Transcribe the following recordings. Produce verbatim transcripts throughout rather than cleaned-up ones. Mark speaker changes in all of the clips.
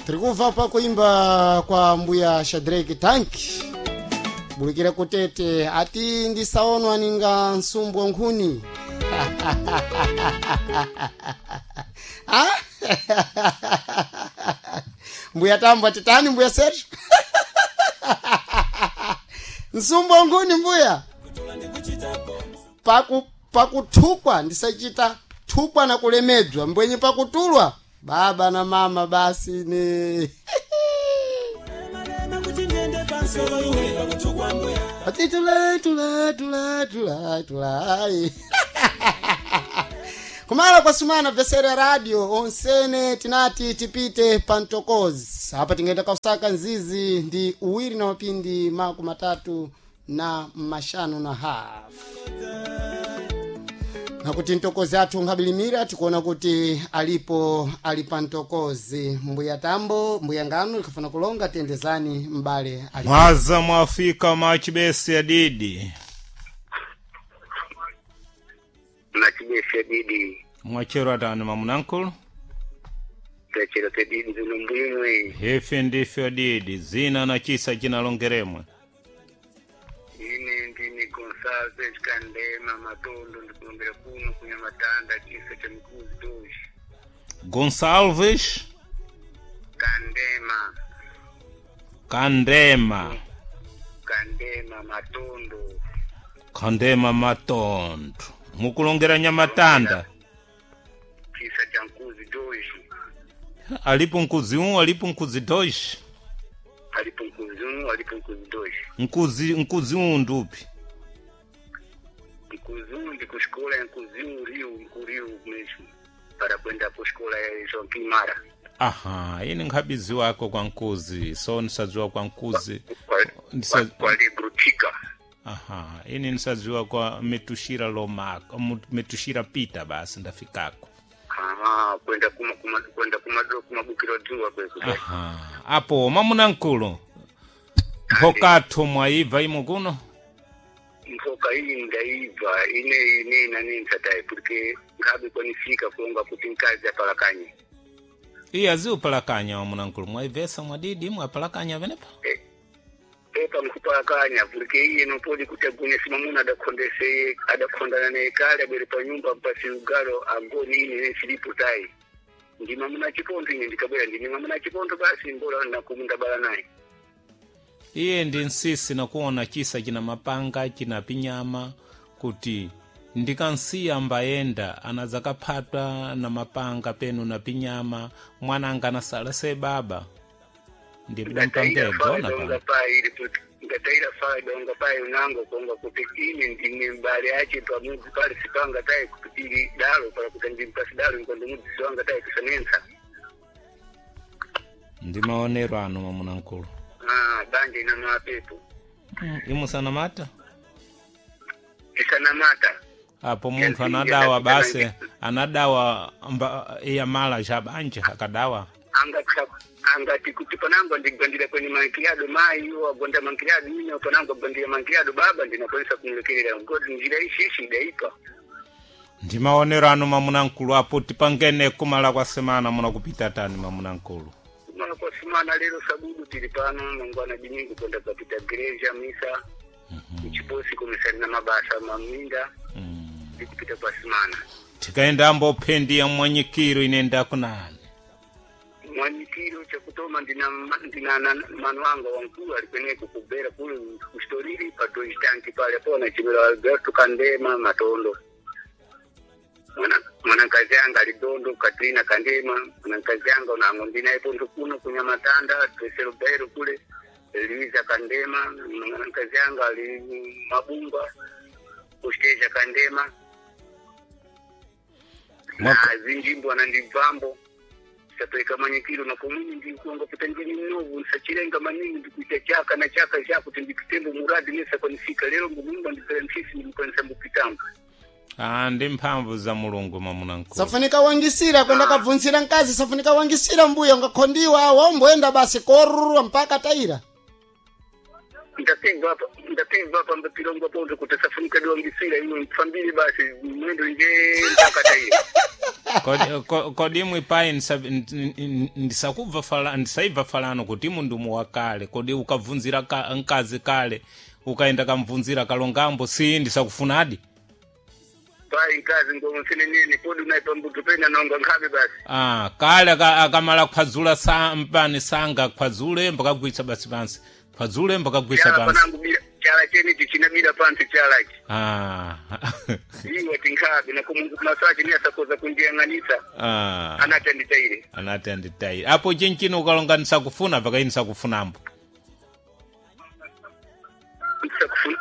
Speaker 1: Tiri pa kuimba kwa mbuya Shadrack Tanki bulikira kutete ati ndisaonwa ninga nsumbwa nkhuni. Ah? Mbuya Tambo atitani mbuya Sergio? Nsumbwa nkhuni mbuya paku pakuthukwa ndisachita thukwa na kulemedzwa mbwenye pakutulwa baba na mama basi ni ati tula tula tula tula tula. Kumala kwa sumana vesera ya radio onsene tinati tipite pantokozi apa tingaenda kausaka nzizi ndi uwiri na mapindi maku matatu na mashanu na hafu nakuti ntokozi athu nkabilimira tikuona kuti alipo ali pa ntokozi mbuya Tambo mbuya Ngano likafuna kulonga tiyendezani mbale ali
Speaker 2: Mwaza mwafika machibesi adidi.
Speaker 3: Machibesi adidi.
Speaker 2: Mwachero atani mamunankulu?
Speaker 3: Tachero tedidi zino mbwimwe.
Speaker 2: Hefe ndife adidi zina na chisa chinalongeremwe.
Speaker 3: Ine ndini Gonsalves Kandema Matondo ndikulombera kuno kunyamatanda chisa cha mikuzi doshi.
Speaker 2: Gonsalves
Speaker 3: Kandema.
Speaker 2: Kandema.
Speaker 3: Kandema Matondo.
Speaker 2: Kandema Matondo. Mukulongera nyamatanda.
Speaker 3: Chisa cha mkuzi doshi.
Speaker 2: Alipo mkuzi um, alipo mkuzi dois.
Speaker 3: Alipo mkuzi um, alipo mkuzi dois.
Speaker 2: Mkuzi mkuzi um ndupi.
Speaker 3: Mkuzi um ndi kuxikola ya mkuzi um Rio, ku Rio mesmo. Para kwenda kuxikola ya João Kimara.
Speaker 2: Aha, ine nkhabizi wako kwa mkuzi, so nisadziwa kwa mkuzi.
Speaker 3: Kwa,
Speaker 2: Ndisa-
Speaker 3: kwa, kwa Lebrutica.
Speaker 2: Aha, ine nisadziwa kwa metushira lomaka, mu- metushira pita basi ndafikako.
Speaker 3: Ah, kwenda kuma kuma kwenda kuma kumabukiro dzuwa kweku.
Speaker 2: Aha, apo mamuna nkulu. Mphokatho mwaibva imo kuno?
Speaker 3: Mfoka iyi ndaibva ine ine nani ntsatayi porque ngabe kwanifika kulonga kuti mkazi apalakanye.
Speaker 2: Iye aziupalakanya wamuna nkulu, mwaibvesa mwadidi mwapalakanya venepa?
Speaker 3: Eh, pepa nkupalakanya porque iye nopodi kuti agone simamuna adakhondeseye adakhondana naye kale abwere pa nyumba mpasi ugalo agoni ine ne silipo tayi. Ndi mamuna chipondo ine ndikabwera ndine mamuna chipondo basi mbola nakumundabala naye.
Speaker 2: Iye ndi nsisi nakuona chisa china mapanga china pinyama kuti ndikansiya mbayenda anadzakaphatwa na mapanga penu na pinyama mwananga anasala se baba
Speaker 3: Ngataira
Speaker 2: ndipdampangedza
Speaker 3: fa
Speaker 2: ona
Speaker 3: donga
Speaker 2: pano
Speaker 3: pai ili kuti ngataira fa donga pai unango konga kuti ine ndine mbale yache pamudzi pali sipanga tayi kuti ili dalo pala kuti ndimpasi dalo nkondo mudzi wanga tayi kusanensa.
Speaker 2: Ndi maonero anu mwamuna nkulu.
Speaker 3: Ah, banja ina mapepo.
Speaker 2: Mm, imusanamata
Speaker 3: Isanamata.
Speaker 2: apo munthu anadawa basi anadawa mba, iya mala cha banja akadawa.
Speaker 3: Angati angati kuti panango ndigwandira kwenye mankiliado mai iwo agonda mankiliado ine panango agwandira mankiliado baba ndinakwanisa kumlekerera ngoti njira ishishi idaipa.
Speaker 2: Ndi maonero anu mwamuna nkulu apo tipangene kumala kwa semana munakupita tani mwamuna nkulu.
Speaker 3: Kumala kwa simana lero sabudu tili pano mangwana dimingu kwenda kapita gereja misa. Mchiposi komisari na mabasa maminda ndikupita kwa simana.
Speaker 2: Tikaenda ambophendi ya mwanyikiro inenda kunani?
Speaker 3: Mwanyikiro chakutoma ndina ndina na- manu wanga wankulu alikweneko kubera kule kustoriri pa Deutsche Tank pale pona chimero Alberto Kandema Matondo. Mwana mwanakazi anga alidondo Katrina Kandema mwanakazi anga unango ndinaye pondo kuno kunyamatanda Tesero Bero kule Liza Kandema mwanakazi anga ali Mabungwa Kusteja Kandema na
Speaker 2: Mwaka-
Speaker 3: zinjimbo anandibvambo sapeleka manyikiro na komwini ndikuonga kuti ndini novu nsachilenga maningi ndikuita chaka na chaka chakuti ndikutembo muradi nesakwanisika lero ngumumba ndipera msisi ndimukwanisa mbupitambo.
Speaker 2: Ah, ndi mphamvu za mulungu mwamuna nkulu.
Speaker 1: Safunika wangisira kwenda kabvunzira mkazi safunika wangisira mbuya ungakhondiwa womboenda basi korurwa mpaka taira.
Speaker 3: Ndapigwa hapa ndapigwa hapa mbapilongwa ponto kuti safunika diwangisira iwe mfambili basi mwendo nje mpaka taiyo.
Speaker 2: Kodi- ko- kodi imwe pai ndisa- n- n- ndisakubva fala ndisaibva falano kuti imu ndumu wakale kodi ukabvunzira ka, mkazi kale ukaenda kamvunzira kalongambo si ndisakufunadi
Speaker 3: Pai nkazi ngomsinenene kodi unaipambuto pena nonga nkhabe basi.
Speaker 2: ah, kale aka- akamala kuphwadzula sa, mpani sanga kuphwadzule mbakagwitsa basi pansi phwadzule mbakagwitsa
Speaker 3: Chala
Speaker 2: pansi
Speaker 3: panangu bila chala chenichi chinabila pansi chalachi.
Speaker 2: ah.
Speaker 3: Iwe tinkhabe nakumungu masachi ni asakoza kundiyang'anisa
Speaker 2: ah.
Speaker 3: anati anditaire.
Speaker 2: Anati anditaire apo chinchino ukalonga ndisakufuna pakayi ndisakufunambo
Speaker 3: Ndisakufuna.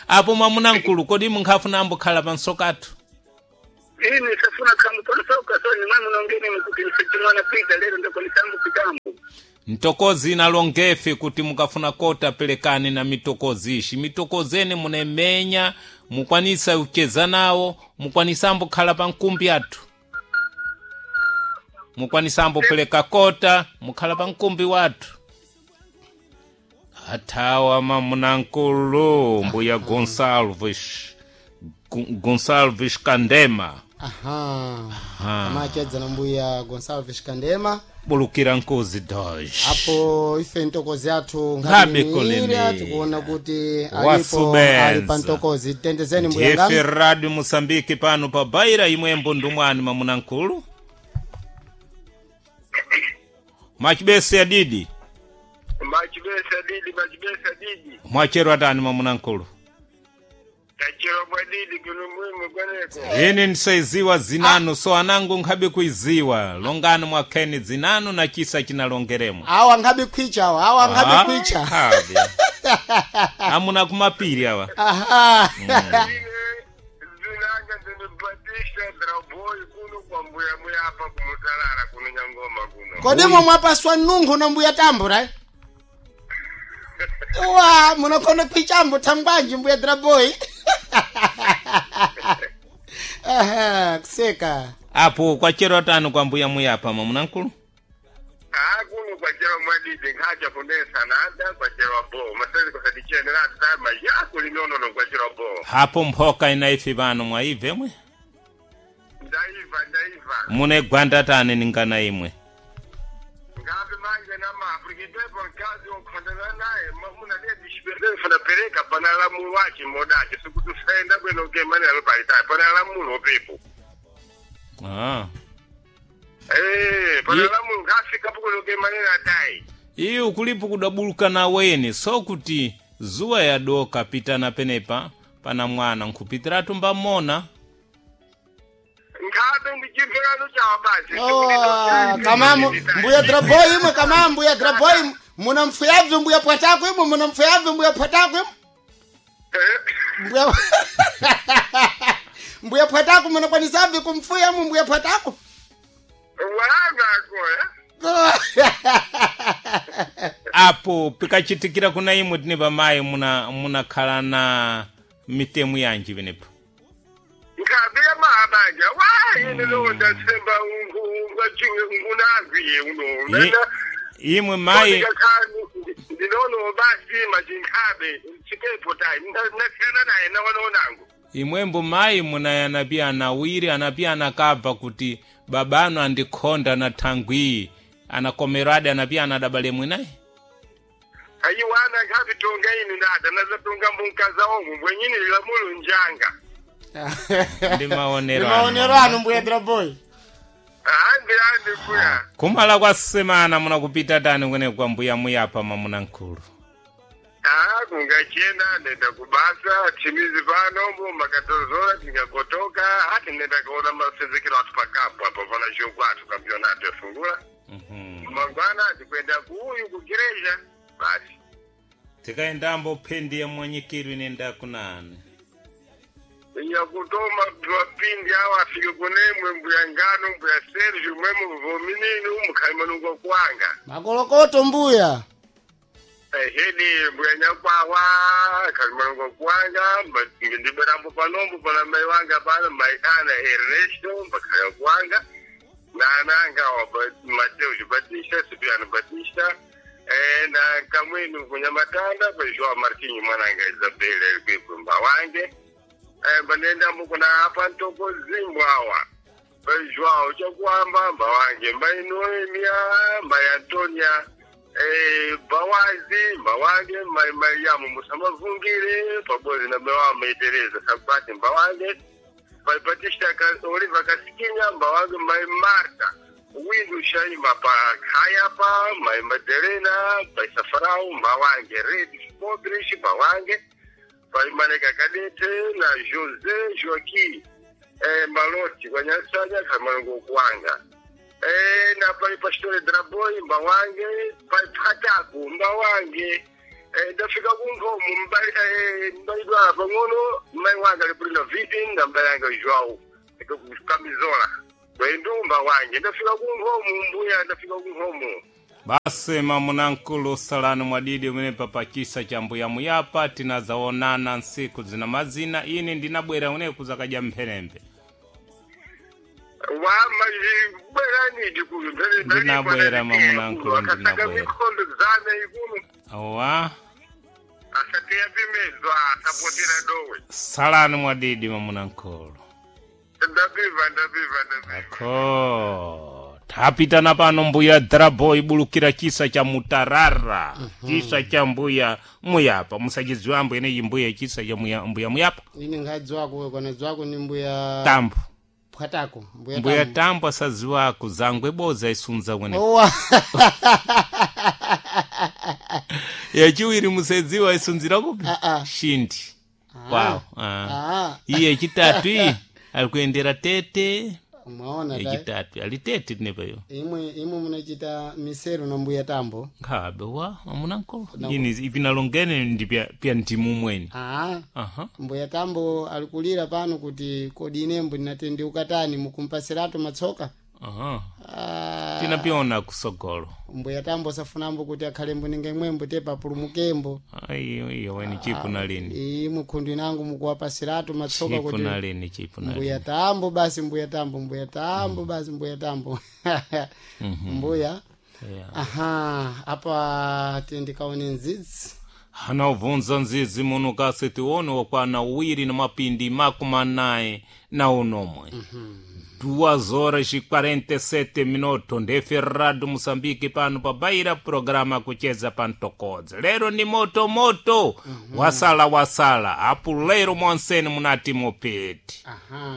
Speaker 2: Apo mwamuna mkulu kodi munkhafunambo khala pansokathu?
Speaker 3: Ini safuna khambo panosoka so ni mwe munongene mkuti nsichimwana pita lero ndakonisambo kitambo.
Speaker 2: Mtokozi inalongefe kuti mukafuna kota pelekani na mitokozi ishi mitokozeni munemenya mukwanisa kucheza nawo mukwanisambo khala pa nkumbi athu mukwanisambo peleka kota mukhala pa nkumbi wathu athawa mamunankulu mbuya Gonsalves Gon- Gonsalves Kandema.
Speaker 1: Aha, amachedza na mbuya Gonsalves Kandema.
Speaker 2: Bulukira nkozi doge.
Speaker 1: Apo ife ntokozi athu
Speaker 2: Ngabe
Speaker 1: nkhani
Speaker 2: kulemera.
Speaker 1: tikuona kuti alipo
Speaker 2: Wasubenza.
Speaker 1: ali pa ntokozi tendezeni mbuya
Speaker 2: Ndiyefe
Speaker 1: ngami.
Speaker 2: Radio Moçambique pano pa Baira imwembo ndumwani mamunankulu mwachibese adidi.
Speaker 3: Machibesa didi machibesa didi.
Speaker 2: Mwachero atani mamunankulu?
Speaker 3: Tachero bwa didi kuno mwimu kweneko.
Speaker 2: Ine ndisaiziwa zinanu so anangu nkhabe kuiziwa longani mwakheni dzinanu na chisa chinalongeremo.
Speaker 1: Awa nkhabe khwicha awa awa nkhabe
Speaker 2: Ah,
Speaker 1: khwicha.
Speaker 2: nkhabe. Amuna kumapiri awa.
Speaker 1: Aha.
Speaker 3: Ine zinanga ndinipatisha draboy kuno kwa mbuya muyapa kumutalala kuno nyangoma kuno.
Speaker 1: Kodi mwe mwapaswa nunkhu na mbuya tambura eh? Wa munakhona khwichambo thangwanji mbuya draboy. Aha, kuseka.
Speaker 2: Apo kwachero atani kwa mbuya muyapa mamunankulu?
Speaker 3: Ah kuno kwachero mwadidi nkhacha fundesa nada kwachero bo masezi kusadichene tama yako linono kwachero bo.
Speaker 2: Hapo mphoka inaife pano mwaibve mwe?
Speaker 3: Ndaiva ndaiva.
Speaker 2: Mune gwanda tani ningana imwe.
Speaker 3: Ngabe manje namaafrikitepo nkazi okhondana naye muna lidishipelefuna pereka pana lamulo wachi modachi sikuti usaenda bwino kemane alopalitayi pana lamulo pepo.
Speaker 2: Ah.
Speaker 3: Eh, pana
Speaker 2: Ye-
Speaker 3: lamulo ngafika pukuno kemane atayi.
Speaker 2: Iyo kulipo kudabuluka na weni so kuti zuwa yadoka pitana penepa pana mwana nkhupitiratu mbamona.
Speaker 3: Ngabe ndichimverano chawa basi.
Speaker 1: Oh, kama mu- mbuya draboy imwe kama mbuya draboy imwe muna mfuyabve mbuya pwatako imwe muna mfuyabve mbuya pwatako imwe mbuya mbuya pwatako munakwanisabve kumfuya mu mbuya pwatako.
Speaker 3: Walangako eh.
Speaker 2: Apo pikachitikira kuna imwe tine pamayi muna munakhala na mitemu yanji penepo?
Speaker 3: Ngabe yamabanja wa ine londa semba ungunagwiye uno.
Speaker 2: Ye- imwe mayi
Speaker 3: Ndinono basi machinkabe chitepo tayi ndasiyana naye nawanonangu.
Speaker 2: Imwembo mayi munayanapi anawiri anapi anakabva kuti babanu andikhonda na thangwi anakomeradi anapi anadabale mwinayi.
Speaker 3: Ayiwana nkabitonga ini ndada nazatonga mbunkaza omwe bwenyini lilamulo njanga.
Speaker 2: Ndi maonero
Speaker 1: Ndi
Speaker 2: anu.
Speaker 1: maonero anu mbuya draboy.
Speaker 3: Andi andi kuya.
Speaker 2: Kumala kwa semana munakupita tani kwene kwa mbuya muyapa mamunankulu?
Speaker 3: Ah, kungachena nenda kubasa chimizi pano mbo makatozola tingakotoka hati nenda kuona masezekero atu pakapo apo pana jogo atu kampionato efungula. Mangwana tikwenda kuuyu kugereja basi.
Speaker 2: Tikaendambo phendi ya mwanyikiro inenda kunani?
Speaker 3: Yakutoma twapindi awo afike kunemwe mbuya ngano mbuya Sergio mwemu vominini umukalimanungo kwanga.
Speaker 1: Makolokoto mbuya.
Speaker 3: Ehedi mbuya nyakwawa kalimanungo kwanga ndiberambo panombo pana mai wanga pano mai ana Ernesto mbakaya kwanga nananga wa Mateus Batista Cipriano Batista Eh, na kamwenu kunyamatanda pa Joao Martinho mwananga Isabela alikwekwe mbawange. Eh, mbanenda kuna apa ntoko zimbwawa. Pa Joao chakuamba mbawange mbai Noemia mbai Antonia eh, bawazi mbawange mbai Mariamu musamavungire pabodzi na mewa mai Teresa Sabati mbawange pai Batista Ka- Oliva Kasikinya mbawange mai Marta Windu Shaima pa Kayapa mai Madelena pai Safarau mbawange Red Podrish mbawange pai Maneka Kadete na Jose Joaquim eh, Maloti kwa Nyasanya Kamalongo Kwanga eh, na pai Pastore Draboi mbawange pai Pataku mbawange eh, ndafika kunkomo mbali eh, mbalidwa pang'ono mai wanga alipulina viti na mbali yanga Joao kamizola kwendu mbawange ndafika kunkomo mbuya ndafika kunkomo
Speaker 2: Basi mamunankulu salani mwadidi umene papachisa cha mbuya muyapa tinazaonana nsiku zina mazina ine ndinabwera uneku zakadya mphenembe
Speaker 3: wamabwerani dikulu
Speaker 2: Ndinabwera, mamunankulu,
Speaker 3: akasaka
Speaker 2: ndinabwera.
Speaker 3: mikondo zana ikulu
Speaker 2: awa
Speaker 3: asateya pimedzwa asapotera dowe
Speaker 2: salani mwadidi mamunankulu
Speaker 3: ndapiva ndapiva ndapiva
Speaker 2: ako tapitana pano mbuya drabo ibulukira chisa cha mutarara chisa cha mbuya muyapa musachidziwa ambo ineyi mbuya chisa cha muya, mbuya muyapa
Speaker 1: Ine ngadziwako kana dziwako ni mbuya
Speaker 2: tambo
Speaker 1: Pwatako, mbuya
Speaker 2: mbuya
Speaker 1: Tambo.
Speaker 2: tambo asadziwako zangwe boza isunza kwene
Speaker 1: Owa.
Speaker 2: yachiwiri musedziwa isunzira kupi
Speaker 1: Ah, ah.
Speaker 2: shindi wow ah.
Speaker 1: Ah,
Speaker 2: iye yechitatu iyi ali kuyendera tete
Speaker 1: mwaona ta.
Speaker 2: yechitatu ali tete tinepayo
Speaker 1: Imwe imwe munachita misero na mbuya Tambo.
Speaker 2: nkhabe wa amunankolo ini ipinalongene ndi pya, pya mtimu mweni
Speaker 1: Ah.
Speaker 2: aha
Speaker 1: Mbuya Tambo alikulira pano kuti kodi inembo ndinatendeuka tani mukumpasiratu matsoka.
Speaker 2: aha
Speaker 1: Ah,
Speaker 2: tinapiona kusogolo
Speaker 1: mbuya Tambo safunambo kuti akhalembo ninga imwembo tepa apulumukembo.
Speaker 2: ayi iyo weni chipu na lini
Speaker 1: Imwe khundu inangu mukuwapasiratu matsoka
Speaker 2: chipu
Speaker 1: kuti
Speaker 2: na lini chipu na lini
Speaker 1: mbuya Tambo basi mbuya Tambo mbuya Tambo basi mbuya Tambo. Mbuya.
Speaker 2: yeah.
Speaker 1: Aha, apa tindikaone nzidzi.
Speaker 2: hana ubvunza nzizi muno kasi tione wakwana uwiri na mapindi makumi anayi na unomwe duas horas e quarenta e sete minuto ndefe rado moçambique pano pabaira programa kucheza pantokodza lero ni moto moto wasala wasala apo lero mwanseni munati mupiti
Speaker 1: Aha.